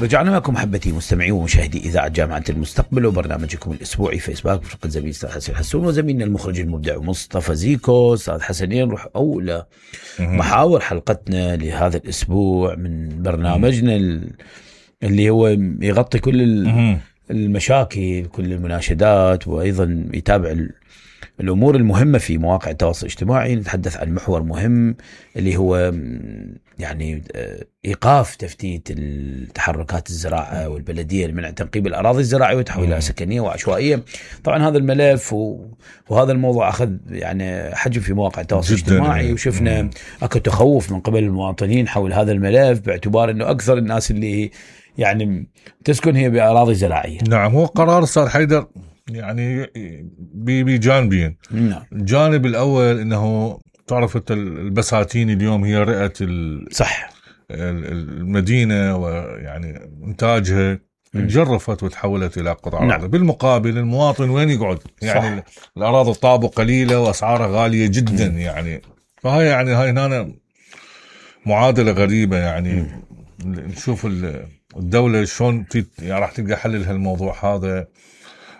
رجعنا لكم محبتي مستمعي ومشاهدي إذاعة جامعة المستقبل وبرنامجكم الأسبوعي فيسبوك برفقة زميل أستاذ حسين حسون وزميلنا المخرج المبدع مصطفى زيكو. أستاذ حسنين نروح أولى محاور حلقتنا لهذا الأسبوع من برنامجنا اللي هو يغطي كل المشاكل كل المناشدات وأيضا يتابع الأمور المهمة في مواقع التواصل الاجتماعي. نتحدث عن محور مهم اللي هو يعني إيقاف تفتيت التحركات الزراعة والبلدية لمنع تنقيب الأراضي الزراعية وتحويلها سكنية وعشوائية. طبعا هذا الملف وهذا الموضوع أخذ يعني حجم في مواقع التواصل الاجتماعي وشفنا أكو تخوف من قبل المواطنين حول هذا الملف باعتبار أنه أكثر الناس اللي يعني تسكن هي بأراضي زراعية. نعم هو قرار أستاذ حيدر يعني بجانبين. نعم. الجانب الأول أنه تعرف البساتين اليوم هي رئة صح المدينة ويعني إنتاجها تجرفت وتحولت إلى قطع. نعم. بالمقابل المواطن وين يقعد يعني صح. الأراضي الطابق قليلة وأسعارها غالية جدا يعني فهي يعني هاي هنا معادلة غريبة يعني نشوف الدولة شلون يعني راح تلقى حل لهالموضوع هذا.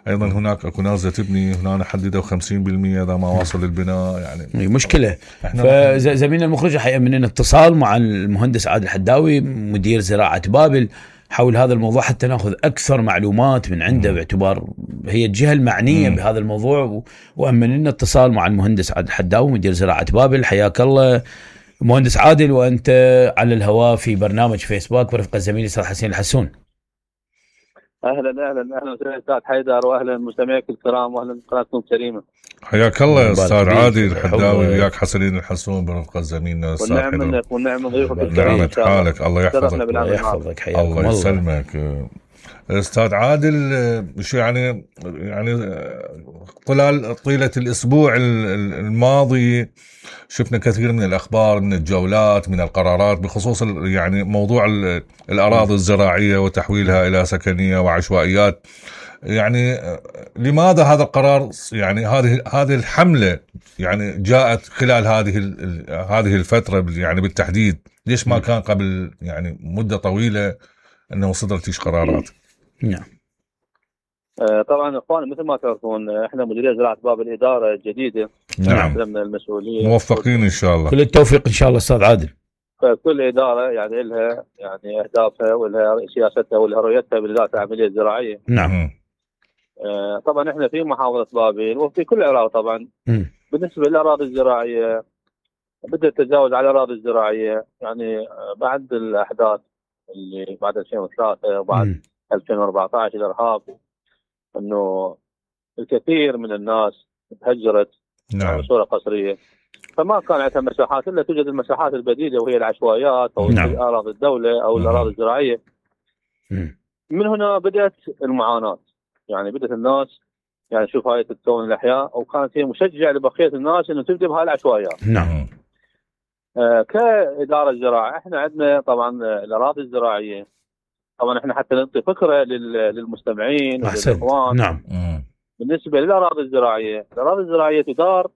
أيضا هناك أكو ناس تبني هنا حددوا 50% إذا ما وصل البناء يعني مشكلة. فزميلنا المخرج حقيقة من اتصال مع المهندس عادل حداوي مدير زراعة بابل حول هذا الموضوع حتى نأخذ أكثر معلومات من عنده باعتبار هي الجهة المعنية بهذا الموضوع. وأمن لنا اتصال مع المهندس عادل حداوي مدير زراعة بابل. حياك الله مهندس عادل وأنت على الهواء في برنامج فيسبوك برفقة زميلي أستاذ حسين الحسون. اهلا استاذ حيدر واهلا مستمعيك الكرام واهلا قناتكم الكريمه. حياك الله يا استاذ عادل الحداوي وياك حسنين الحسون برفقة زميلنا استاذ حيدر. والنعم منك والنعم ضيوفك الكرام. نعمة حالك الله يحفظك الله يحفظك حياكم الله يسلمك. استاذ عادل شو يعني طيلة الاسبوع الماضي شفنا كثير من الأخبار من الجولات من القرارات بخصوص يعني موضوع الأراضي الزراعية وتحويلها إلى سكنية وعشوائيات. يعني لماذا هذا القرار يعني هذه الحملة يعني جاءت خلال هذه الفترة يعني بالتحديد؟ ليش ما كان قبل يعني مدة طويلة أنه صدرت قرارات؟ نعم. طبعا اخوان مثل ما تعرفون احنا مديريه زراعه باب الاداره الجديده. نعم. من المسؤوليه موفقين ان شاء الله. كل التوفيق ان شاء الله استاذ عادل. فكل اداره يعني لها يعني اهدافها ولها سياستها ولها رؤيتها بالذات العمليه الزراعيه. نعم. طبعا احنا في محافظه بابل وفي كل العراق طبعا. بالنسبه للاراضي الزراعيه بدا التجاوز على الاراضي الزراعيه يعني بعد الاحداث اللي بعد 2003 وبعد 2014 الارهاب انه الكثير من الناس تهجرت. نعم. بصوره قسريه فما كان عندها مساحات الا توجد المساحات البديله وهي العشوائيات او نعم. اراضي الدوله او الاراضي الزراعيه. من هنا بدات المعاناه يعني بدات الناس يعني شوف هاي تتكون الاحياء وكانت هي مشجع لبقيه الناس انه تبدا بهاي العشوائيات. نعم. كاداره زراعه احنا عندنا طبعا الاراضي الزراعيه طبعا احنا حتى نعطي فكره للمستمعين وللاخوان. نعم. بالنسبه للاراضي الزراعيه، الاراضي الزراعيه تدار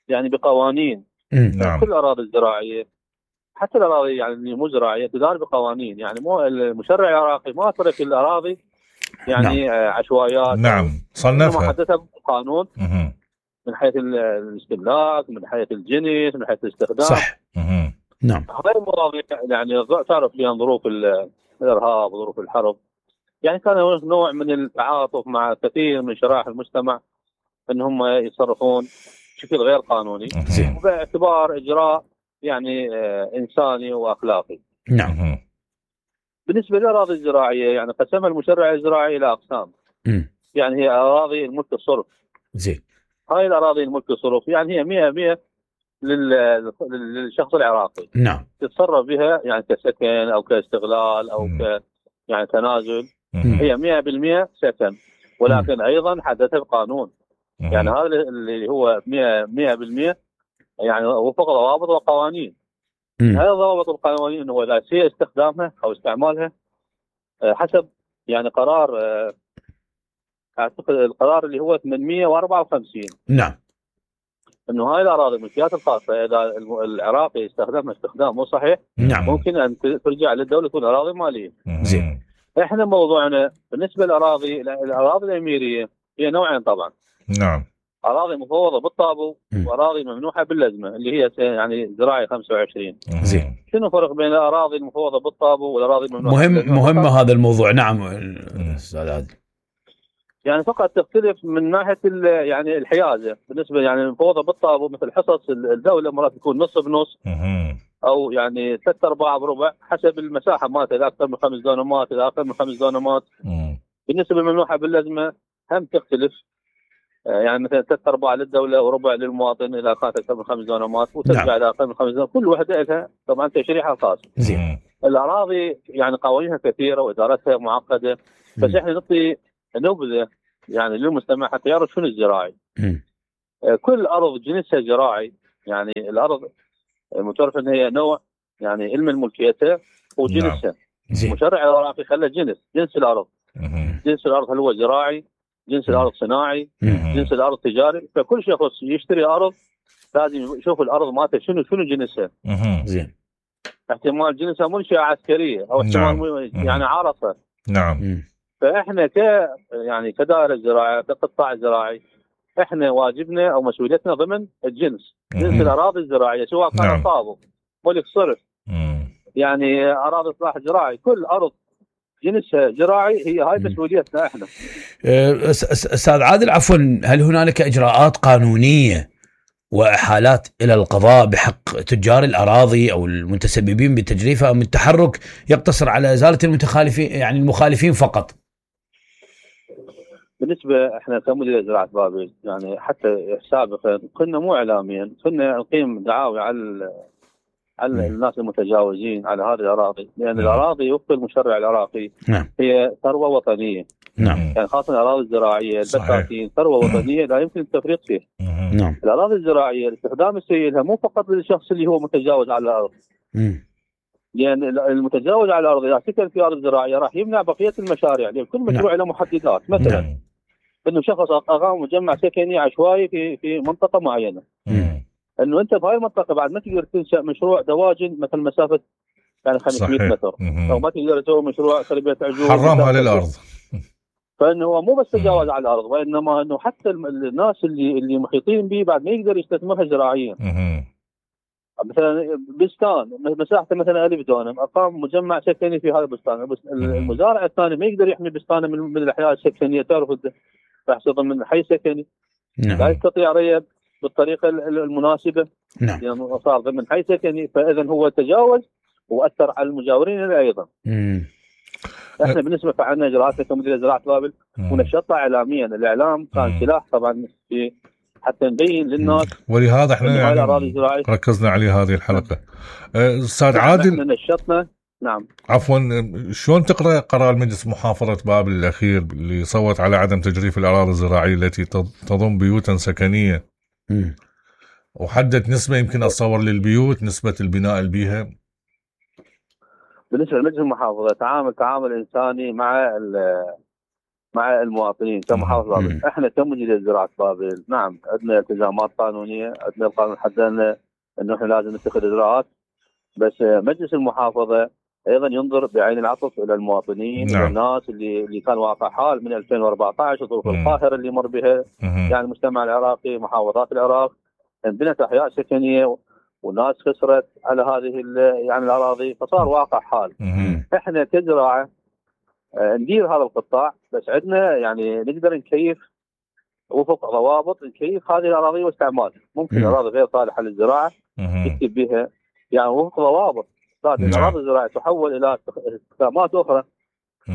يعني بقوانين. نعم. كل الاراضي الزراعيه حتى الاراضي يعني اللي مو زراعيه تدار بقوانين يعني مو المشرع العراقي ما ترك الاراضي يعني نعم. عشوائيات. نعم صنفها حددها بقانون من حيث الاستهلاك من حيث الجنس من حيث الاستخدام. صح. نعم. هاي المواضيع يعني تعرف فيها ظروف الارهاب وظروف الحرب يعني كان هناك نوع من التعاطف مع كثير من شرائح المجتمع ان هم يتصرفون بشكل غير قانوني باعتبار اجراء يعني انساني واخلاقي. نعم. بالنسبه للاراضي الزراعيه يعني قسمها المشرع الزراعي الى اقسام. يعني هي اراضي الملك الصرف. زين. هاي الاراضي الملك الصرف يعني هي 100% للشخص العراقي. نعم. تتصرف بها يعني كسكن او كاستغلال او يعني تنازل. هي 100% سكن ولكن ايضا حدثها بقانون. يعني هذا اللي هو 100% يعني وفق ضوابط وقوانين. هذا ضوابط القوانين انه لا يصير استخدامها او استعمالها حسب يعني قرار اعتقد القرار اللي هو 854. نعم. انه هاي الاراضي الملكيات الخاصه اذا العراقي استخدمها استخدام مو صحيح نعم. ممكن ان ترجع للدوله تكون اراضي ماليه. زين. احنا موضوعنا بالنسبه للاراضي الاميريه هي نوعين طبعا. نعم. اراضي مفوضه بالطابو واراضي ممنوحه باللزمه اللي هي يعني زراعي 25. زين. شنو الفرق بين الاراضي المفوضه بالطابو والاراضي الممنوحه؟ مهم هذا الموضوع. نعم استاذ عادل. يعني فقط تختلف من ناحيه يعني الحيازه بالنسبه يعني المفوضه بالطابو مثل حصص الدوله مرات تكون نص بنص او يعني 3/4 بربع حسب المساحه مالتها، اذا اكثر من 5 دونمات اذا اقل من 5 دونمات. بالنسبه للممنوحه باللزمه هم تختلف، يعني مثلا 3/4 للدوله وربع للمواطن اذا كانت اكثر من 5 دونمات وترجع اذا اقل من 5 دونمات، كل وحده لها طبعا تشريحها الخاص. زين. الاراضي يعني قوانينها كثيره وادارتها معقده، بس احنا نعطي نبذه يعني للمستمع حتى يعرف شنو الزراعي. كل ارض جنسها زراعي، يعني الارض متعرف ان هي نوع يعني علم ملكيتها وجنسها. المشرع العراقي خلى جنس الارض. جنس الارض هل هو زراعي؟ جنس الارض صناعي؟ جنس الارض تجاري؟ فكل شخص يشتري ارض لازم يشوف الارض مالته شنو جنسها. زين. احتمال جنسها منشأة عسكرية او احتمال يعني عرفة. نعم. فاحنا يعني كدائرة زراعية كقطاع زراعي احنا واجبنا او مسؤوليتنا ضمن الجنس. جنس الاراضي الزراعية سواء كان طابو ملك صرف يعني اراضي اصلاح زراعي، كل ارض جنسها زراعي هي هاي مسؤوليتنا احنا. استاذ عادل عفوا، هل هنالك اجراءات قانونيه واحالات الى القضاء بحق تجار الاراضي او المتسببين بتجريفها، ام التحرك يقتصر على ازاله المتخالفين يعني المخالفين فقط؟ بالنسبه احنا كمديريه زراعه بابل يعني حتى سابقا كنا مو اعلاميا كنا نقيم دعاوي على الناس المتجاوزين على هذه الاراضي، لان الاراضي وفق المشرع العراقي هي ثروه وطنيه. يعني خاصه الاراضي الزراعيه البساتين ثروه وطنيه لا يمكن التفريط فيها. الاراضي الزراعيه الاستخدام السيء لها مو فقط للشخص اللي هو متجاوز على الارض. لان المتجاوز على الارض اذا سكن في ارض زراعيه راح يمنع بقيه المشاريع، لان كل مشروع له محددات. مثلا انه شخص اقام مجمع سكني عشوائي في منطقه معينه، انه انت بهاي المنطقه بعد ما تقدر تنشا مشروع دواجن مثل مسافه يعني 500 متر او ما تقدر تسوي مشروع تربيه عجول حرمها للارض. فانه هو مو بس تجاوز على الارض، وانما انه حتى الناس اللي محيطين به بعد ما يقدر يستثمرها زراعيا. مثلا بستان مساحته مثلا 1000 دونم اقام مجمع سكني في هذا البستان، المزارع الثاني ما يقدر يحمي بستانه من الاحياء السكنيه، تعرف راح ضمن حي سكني. لا يستطيع ري بالطريقه المناسبه لانه صار ضمن حي سكني، فاذا هو تجاوز واثر على المجاورين ايضا. احنا بالنسبه فعلنا اجراءاتنا كمديريه زراعه بابل ونشطها اعلاميا. الاعلام كان سلاح طبعا في حتى نبين للناس، ولهذا احنا يعني ركزنا عليه هذه الحلقه. استاذ عادل احنا نشطنا. نعم عفوا، شلون تقرا قرار مجلس محافظه بابل الاخير اللي صوت على عدم تجريف الاراضي الزراعيه التي تضم بيوتا سكنيه وحدد نسبه يمكن اتصور للبيوت نسبه البناء اللي بيها؟ بالنسبه لمجلس المحافظه تعامل انساني مع المواطنين كمحافظه بابل. احنا كمديريه زراعه بابل نعم عندنا التزامات قانونيه، عندنا القانون حددنا انه احنا لازم نتخذ اجراءات، بس مجلس المحافظه ايضا ينظر بعين العطف الى المواطنين الى الناس اللي كان واقع حال من 2014 الظروف القاهره اللي مر بها يعني المجتمع العراقي، محافظات العراق انبنت احياء سكنيه والناس خسرت على هذه يعني الاراضي، فصار واقع حال. احنا كزراعه ندير هذا القطاع، بس عندنا يعني نقدر نكيف وفق ضوابط نكيف هذه الاراضي واستعمالها. ممكن اراضي غير صالحه للزراعه نكتب بها يعني وفق ضوابط. الاراضي الزراعيه تحول الى استخدامات اخرى،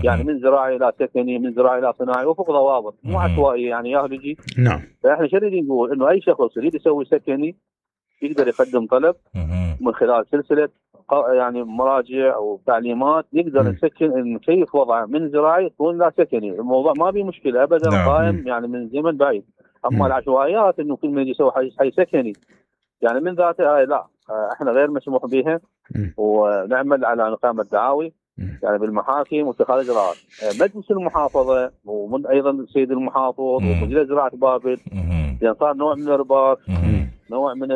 يعني من زراعي الى سكني، من زراعي الى صناعي، وفق ضوابط مو عشوائيه يعني يهلجي. فاحنا شو نريد نقول؟ انه اي شخص يريد يسوي سكني يقدر يقدم طلب من خلال سلسله يعني مراجع او تعليمات يقدر نسكن نكيف وضعه من زراعي يكون لا سكني. الموضوع ما في مشكله ابدا، قائم يعني من زمن بعيد. اما العشوائيات انه كل من يسوي حي سكني يعني من ذاته لا، احنا غير مسموح بها، ونعمل على اقامه دعاوي يعني بالمحاكم واتخاذ اجراءات. مجلس المحافظه ومن ايضا السيد المحافظ ومديريه زراعه بابل لان صار نوع من الارباك نوع من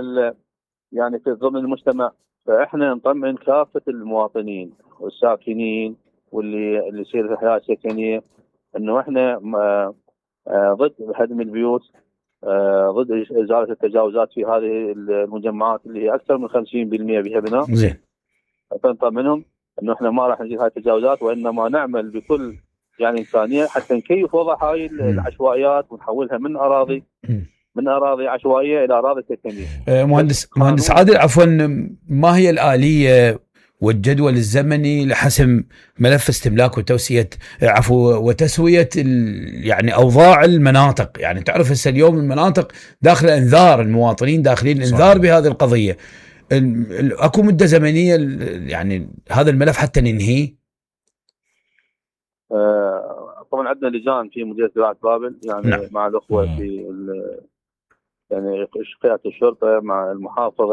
يعني في ضمن المجتمع. فاحنا نطمئن كافه المواطنين والساكنين واللي يصير في الحياه السكنيه انه احنا ضد هدم البيوت، ضد ازاله التجاوزات في هذه المجمعات اللي هي اكثر من 50% بها بناء. زين. فنطمئنهم انه احنا ما راح نزيل هذه التجاوزات، وانما نعمل بكل يعني امكانيه حتى نكيف وضع هاي العشوائيات ونحولها من اراضي عشوائيه الى اراضي سكنيه. مهندس عادل، عفوا، ما هي الآلية والجدول الزمني لحسم ملف استملاك وتوسية وتسوية يعني أوضاع المناطق؟ يعني تعرف هسه اليوم المناطق داخل انذار، المواطنين داخلين انذار بهذه القضية. اكو مدة زمنية يعني هذا الملف حتى ننهيه؟ طبعا عندنا لجان في مديرية زراعة بابل، يعني نعم. مع الأخوة في يعني قيادة الشرطة مع المحافظة